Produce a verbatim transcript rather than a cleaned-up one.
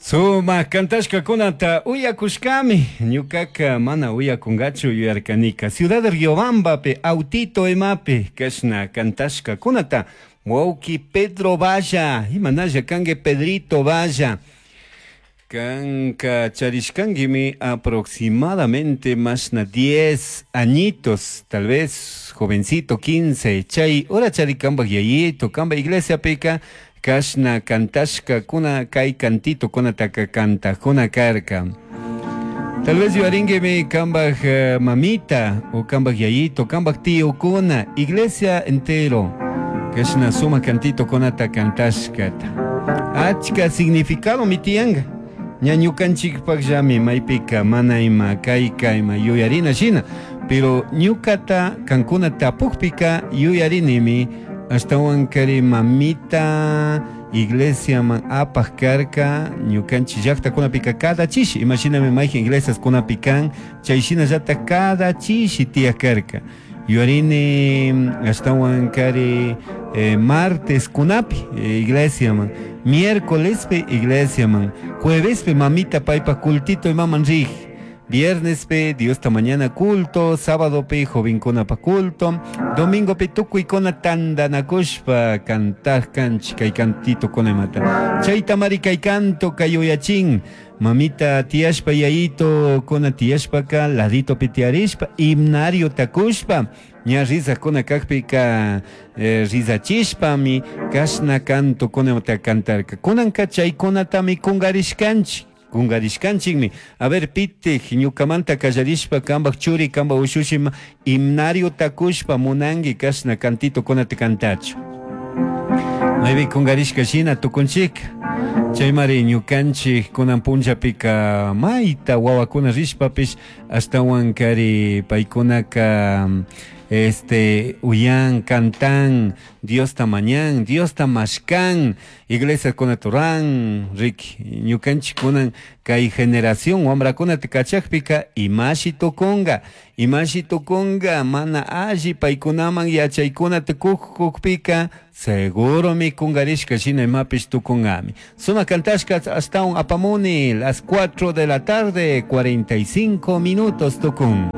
Sumak kantashkakunata uyakushkami, ñukaka mana uyakungachu yuyarkanika. Ciudad Riobambapi, autito imapi kashna kantashkakunata wawki Pedro Valla, imanalla kanki Pedrito Valla. Kanka charishkankimi aproximadamente mashna diez añitos, tal vez jovencito quince, chay hora chari kambak yayito, kamba iglesiapika kashna kantashkakuna kay cantito kunataka kantakuna karka. Tal vez yuyaringuimi kambak eh, mamita o kambak yayito, kambak tío kuna, iglesia entero, kashna suma cantito kunata kantashkata. Achka significado mi tiyanga. Ña ñukanchikpakllami maypika mana ima kayka ima yuyarina shina, pero ñukata kankuna tapukpika yuyarinimi ashtawan kari mamita iglesiaman apaj karka ñukanchik llaktakunapika cada chishi, imashinami mayjin iglesias kunapi kan, chay shinallatak cada chishi tiyak karka. Yuyarini ashtawan kari eh, martes kunapi eh, iglesiaman, miércolespi iglesiaman, juevespi mamita paypa cultito imaman rij, viernespi Diosta mañana culto, sábadopi jovenkunapa culto, domingopi tukuykuna tandanakushpa kantaj kanchik kay cantito kuna imata. Chaytamari kay canto kay yuyachin, mamita tiyashpa yayito kuna tiyashpaka laditopi tiyarishpa himnario takushpa ña rizakuna kakpika eh, rizachishpami kashna canto kunata kantarka. Kunanka chaykunatami kungarishkanchik. Kungarishkanchikmi. A ver, pitik, ñukamanta kallarishpa kambak churi, kambak ushushima himnario takushpa munanki kashna cantito kunata kantachu. Maypi kungarishka shina tukunchik. Chaymari ñukanchik kunan punllapika mayta wawakuna rishpapish ashtawan kari paykunaka este uyan, cantan, Diosta mañan, Diosta mashkan, iglesia kunaturan, riki, ñukanchik kunan kay generación wamrakunata kachakpika imashi tukunga, imashi tukunga, mana alli paykunaman yachaykunata kukpika seguro mi kungarishka shina imapish tukungami. Suma kantashka ashtawan apamuni las cuatro de la tarde, cuarenta y cinco minutos tukun.